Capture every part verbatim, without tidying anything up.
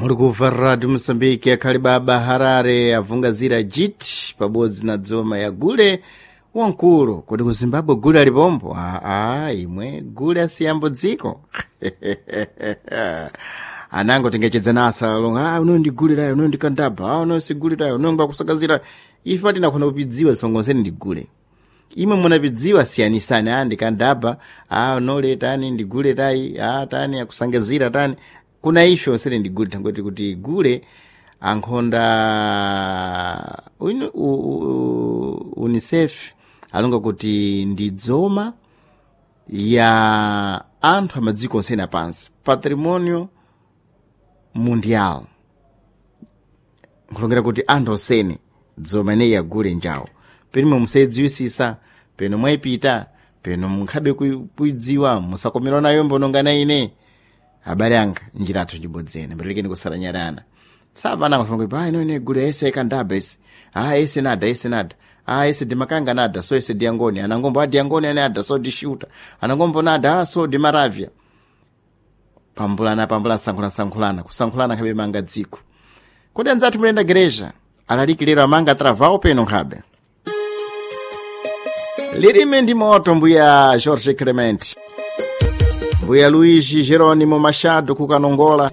Muri kubva Radio Mosambiki akhali baba Harare avungazira jiti pabodzi na dzoma ya gule wankulu. Kuti ku Zimbabwe gule alipombo? Aa, imwe gule asiyambo dziko. Anango tingachedza nasa longa, ah, uno ndi gule layo, uno ndi kandaba, ah, uno si gule layo, uno ngwakusakazira. Ife patinakhoda kupidziwa songonseni ndi gule. Imwe munapidziwa siyanisani, ah, ndi kandaba, ah, unole tani ndi gule tayi, ah, tani akusangazira tani. Kuna ife onsene ndi gule, tangoti kuti gule ankhonda unu- u- u- UNICEF alonga kuti ndi dzoma ya anthu amadziko onsene apansi, patrimonio mundial, nkulongera kuti anthu osene dzoma ineyi yagule njawo. Penimwe musayidziwisisa, peno mwayipita, peno munkhabe kui- kuidziwa, musakomerwa nayo mbonongana ine. Abale anga, njira athu njibodzene mbatilekeni kusaranyarana. Tsapana kusonga kuti, ah, ino ine gule ese ikandaba ese, ah, ese nada, ese nada, ah, ese dimakanga nada, so ese diangoni anangombo, ah, diangoni ane ada, so dishuta anangombo nada, ah, so dimaravya. Pambulana pambulana, sankhulana sankhulana, kusankhulana nkhabe manga dziko. Kodi anzathu mulenda gereja alaliki lero amanga travao peno nkhabe lilime ndi moto. Mbuya Jorge Clement, mbuya Luigi Geronimo Machado kukanongola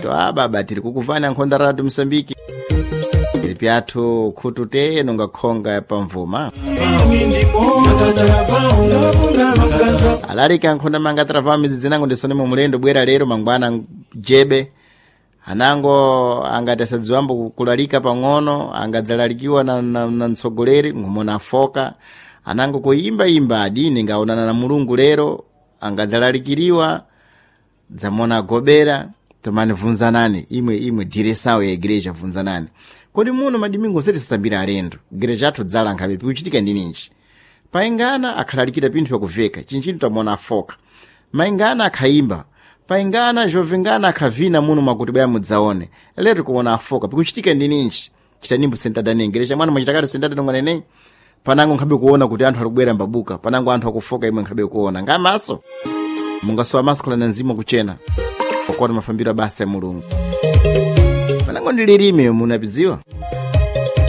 to ababa tiri kukuvani ankhonda Radio Mosambiki tiri pyathu khutu te nonga khonga pamvuma. Alaliki ankhonda manga travao midzi nango ndisonemo mulendo bwera lero mangwana jebe anango angati asadziwambo kulalika pang'ono, angadzalalikiwa na, na, na mtsogoleri ngumona afoka. Anango kuyimbayimba adini ngaonana na Mulungu lero angadzalalikiriwa dzamona agobera. Tomani vunzanani imwe imwe diresawo ya igreja, vunzanani kodi muno madimingo seti sasambira alendo gereja athu dzala nkhabe pikuchitika ndi ninji. Paingana akhalalikira pinthu pakuveka chinchinthu tamona afoka, maingana akhayimba paingana jovengana akhavina muno mwakuti bwera mudzaone lero kuona afoka pikuchitika ndi ninji. Chitanimbo sentadane gereja mwana mwachitakale sentada nongonene panango nkhabe kuona kuti anthu alikubwera mbabuka panango anthu akufoka imwe nkhabe kuona ngamaso mungasowa maso khala na mzimu kuchena pakuona mafambiro abasa ya Mulungu panango ndi lilime munapidziwa.